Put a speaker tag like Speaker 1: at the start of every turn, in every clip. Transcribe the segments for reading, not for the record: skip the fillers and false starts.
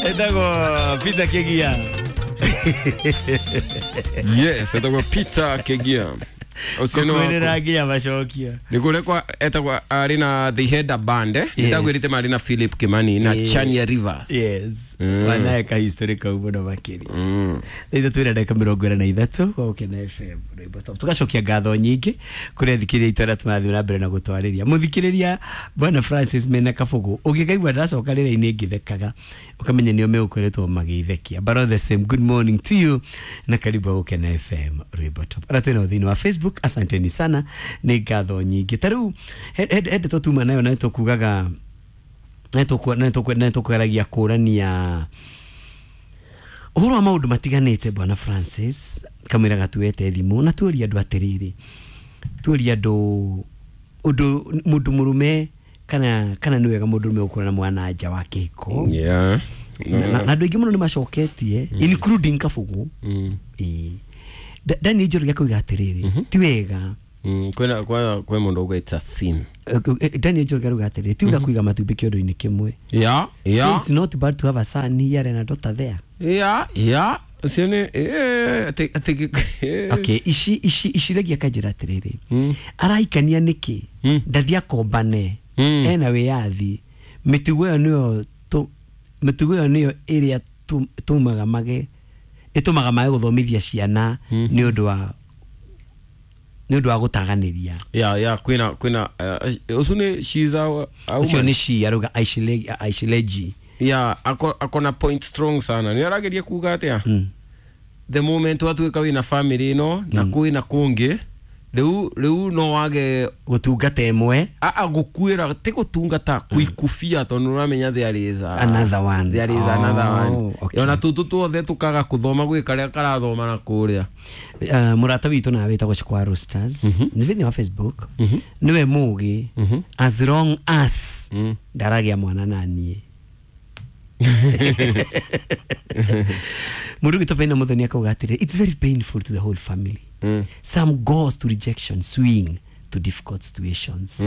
Speaker 1: Etagwo Peter Kegia.
Speaker 2: Yes, etagwo Peter Kegia. Ũcio nĩ
Speaker 1: Kwĩrĩra nginya macokia.
Speaker 2: Nĩ kũrĩa kwa etagwo arĩ na The Header Band, eh? Yes. Ndagwĩrĩte marĩ na Philip Kimani na
Speaker 1: Yes.
Speaker 2: Chania Rivers.
Speaker 1: Yes. Wanae ka history kau mũno makĩria. Ithe twĩna ndagĩka 23 gwa Gũkena FM rwĩmbo top. Tũgacokia ngatho nyingĩ kũrĩ athikĩrĩria aitũ arĩa tũrathiĩ na mbere na gũtwarĩria. Mũthikĩrĩria Bwana Francis mena Kabũgũ, ũngĩkaigua ndacoka rĩera-inĩ ngĩthekaga, ũkamenya nĩo megũkoretwo magĩithekia. But all the same, good morning to you na karibu Gũkena FM rwĩmbo top. Arĩa twĩnao thĩinĩ wa Facebook, asanteni sana, nĩ ngatho nyingĩ. Ta rĩu he ndeto tuma nayo na nĩtũkugaga nĩtũkũgeragia kũrania ũhoro wa maũndũ matiganĩte. Bwana Francis kamwĩra gatuete thimũ na tuoria andũ atĩrĩrĩ, tuoria andũ ũndũ mũndũ mũrũme kana nĩ wega mũndũ mũrũme gũkorwo na mwana nja wa kĩhiko.
Speaker 2: Yeah.
Speaker 1: Na andũ aingĩ mũno nĩ macoketie, including Kabũgũ. Ĩĩ. Daniel Njoroge akauga atĩrĩrĩ, ti wega.
Speaker 2: Kwĩna kwĩ mũndũ uga it's a sin.
Speaker 1: Daniel Njoroge arauga atĩrĩrĩ, ti wega kũiga matumbĩ kĩondo-inĩ kĩmwe. So it's not bad to have a son here and a daughter there.
Speaker 2: Yeah. Ũcio nĩ atĩ
Speaker 1: Okay, ici regia kanjĩra atĩrĩrĩ, arahikania nĩkĩ? Ndathi akombane, ena wĩyathi. Mĩtugo ĩyo nĩyo mĩtugo ĩyo nĩyo ĩrĩa tũmaga mage ĩtũmaga mage gũthomithia ciana nĩ ũndũ wa gũtaganĩria.
Speaker 2: Yeah, kwĩna ũcio nĩ she's a
Speaker 1: ũcio
Speaker 2: woman.
Speaker 1: Nĩ she arauga Aishileji.
Speaker 2: Yeah, akona point strong sana. Nĩ arageria kuga atĩa? The moment watuĩka wĩna family ĩno na kwĩna kũngĩ, rĩu no wage
Speaker 1: gũtungata ĩmwe.
Speaker 2: Gũkuĩra ti gũtungata, kuikubia tondũ ũramenya there is a
Speaker 1: Another one.
Speaker 2: There is another one.
Speaker 1: Okay.
Speaker 2: Ona tũtũ tuothe tũkaga kũthoma gwĩ karĩa karathoma na kũrĩa.
Speaker 1: Mũrata witũ nawe wĩtagwo Chikwa Roosters nĩ thĩinĩ wa Facebook, nĩwe mũgĩ, as long as ndaragĩa mwana na niĩ. Mũndũ ũgĩtwo Penina Mũthoni akauga atĩrĩ, it's very painful to the whole family. Some goes to rejection, swing to difficult situations.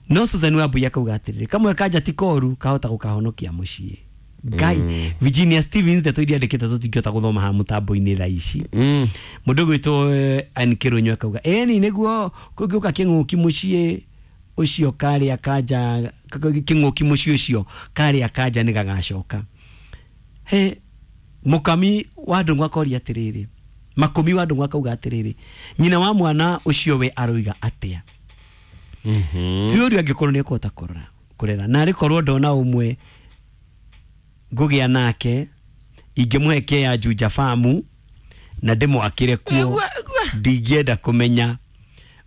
Speaker 1: No Susan Wambui akauga atĩrĩrĩ, kamwe kanja ti koru, kahota gũkahonokia mũciĩ. Ngai. Virginia Stevens, ndeto iria andĩkĩte tũtingĩhota gũthoma haha mũtambo-inĩ thaa ici. Mũndũ ũgwĩtwo Ann Kĩrũnyũ akauga ĩni nĩguo kũngĩũka kĩng'ũki mũciĩ ũcio karĩa kanja, kĩng'ũki mũciĩ ũcio karĩa kanja nĩ gagacoka. He mũkami wa ndũng'ũ akoria atĩrĩrĩ, makũmi wa ndũng'ũ akauga atĩrĩrĩ, nyina wa mwana ũcio we aroiga atĩa? Ti ũrĩa angĩkorwo nĩ ekũhota kũrora kũrera na arĩ korwo ndona ũmwe ngũgĩa nake ingĩmũhe kĩa ya Juja famu na ndĩmwakĩre kuo, ndingĩenda kũmenya.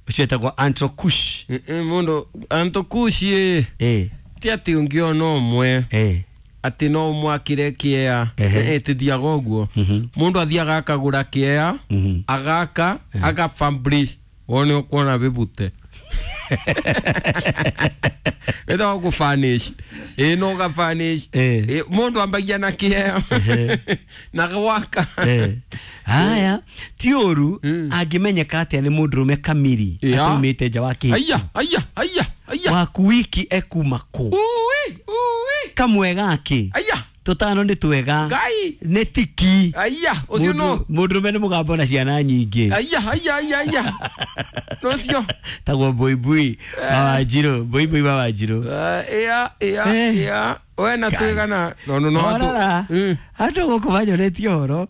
Speaker 1: Ũcio etagwo Antrokush.
Speaker 2: Mũndũ Antokushi, ti atĩ ũngĩona ũmwe atĩ no ũmwakĩre kĩea. Tithiaga ũguo. Mũndũ athiaga akagũra kĩea, agaka, agapublish, wone ũkuona bĩbute wĩtagwo gũfurnish. Ĩ no gafurnish. Mũndũ ambagia na kĩea na gwaka.
Speaker 1: Haya, ti ũru angĩmenyeka atĩa nĩ mũndũrũme kamiri ataumĩte nja wa kĩhiko.
Speaker 2: Aya aya aya aya.
Speaker 1: Waku wiki ekuma kũ?
Speaker 2: Ui ui.
Speaker 1: Kamwe gake
Speaker 2: Aya.
Speaker 1: tũtano nĩ twega.
Speaker 2: Ngai.
Speaker 1: Nĩ tiki.
Speaker 2: Aya ũcio no
Speaker 1: Mũndũrũme nĩ mũgambo na ciana nyingĩ.
Speaker 2: Aya aya aya aya no cio.
Speaker 1: Tagwo Mbuibui wa Wanjirũ, Mbuibui wa Wanjirũ.
Speaker 2: Ĩa ĩa we na twĩgana tondũ no
Speaker 1: Orara andũ gũkũ manyonetie ũhoro,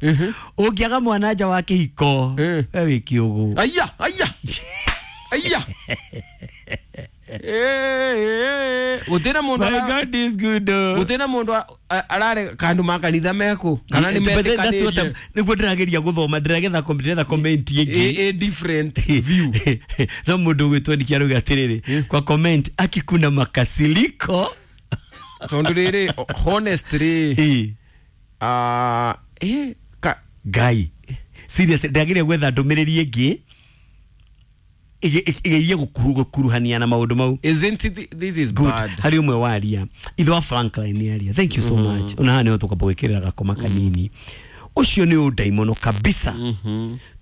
Speaker 1: ũngĩaga mwana nja wa kĩhiko, we wĩ kĩũgũ.
Speaker 2: Aya aya aya. Gũtirĩ mũndũ
Speaker 1: My God is good oh.
Speaker 2: Gũtirĩ mũndũ arare kandu makanitha meku kana nĩ
Speaker 1: But that's what
Speaker 2: metĩkanĩrie.
Speaker 1: Nĩguo ndĩrageria gũthoma, ndĩragetha ndĩretha comment ĩngĩ.
Speaker 2: A different view.
Speaker 1: No mũndũ ũgwĩtwo Niki arauga atĩrĩrĩ kwa comment, akikuna makasiliko.
Speaker 2: Tondũ rĩrĩ, honestly, ka
Speaker 1: Ngai, serious, ndĩrageria gwetha ndũmĩrĩri ĩngĩ ĩgerie gũkuruhania na maũndũ mau.
Speaker 2: Isn't it, this is
Speaker 1: Good.
Speaker 2: bad.
Speaker 1: Harĩ ũmwe waria ithe wa Franklin nĩ aria, thank you so much. Ona haha nĩho tũkwamba gwĩkĩrĩra gakoma kanini. Ũcio nĩ ũndaimono kabisa,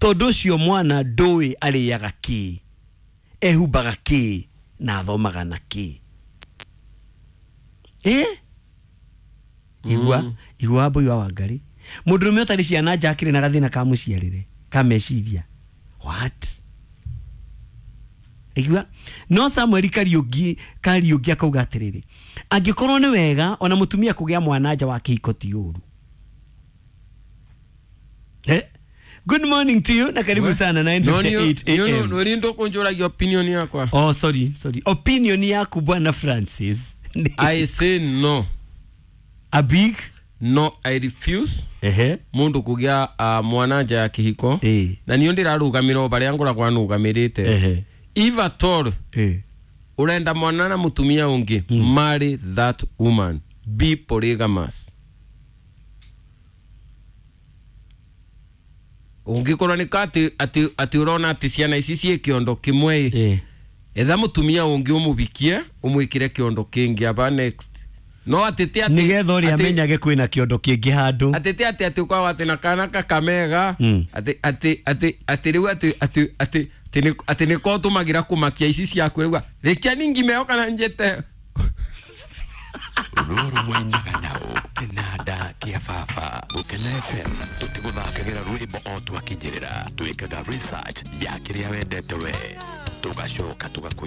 Speaker 1: tondũ ũcio mwana ndũĩ arĩaga kĩ, ehumbaga kĩ, na athomaga na kĩ. Igua igua Wambui wa Wangari, mũndũrũme ũtarĩ ciana nja akĩrĩ na gathĩna ka mũciarĩre ka meciria. What? Igua no Samuel Kariuki akauga atĩrĩrĩ, angĩkorwo nĩ wega ona mũtumia kũgĩa mwana nja wa kĩhiko ti ũru. Good morning to you na karibu sana 9:58 am.
Speaker 2: Nä ndå kå njå ragia opinion yakwa.
Speaker 1: Oh, sorry, sorry. Opinion yaku bwana Francis.
Speaker 2: I say no.
Speaker 1: A big
Speaker 2: No, I refuse.
Speaker 1: Ehe.
Speaker 2: Mundu kugia mwana nja ya kihiko. Na niyo ndirarugamira o baria ngoragwo nugamirite.
Speaker 1: Ehe.
Speaker 2: If at all urenda mwana na mutumia ungi, marry that woman, be polygamous. Ungikorwo ni ka ati urona ati ciana ici ciĩ kĩondo kĩmwe, etha mutumia ungi umubikie umwikire kĩondo kĩngĩ aba next. No atete ati
Speaker 1: nigetha ũrĩa amenyage kwĩna kĩondo kĩngĩ handũ.
Speaker 2: Atete ati ati ukawa ati na kana kakamega, ati ati ati ati rĩu ati ati ati ati nĩ ko tũmagira kũmakia ici ciaku rĩu rĩkia ningimeo kana njĩte.
Speaker 3: Rũrũ mwenyaga nao kĩnanda kĩa baba. Gũkena FM tũtigũthakagĩra rwĩmbo o twakinyĩrĩra, twĩkaga research ya kĩrĩa wendete we, tũgacoka tũgakũihũria.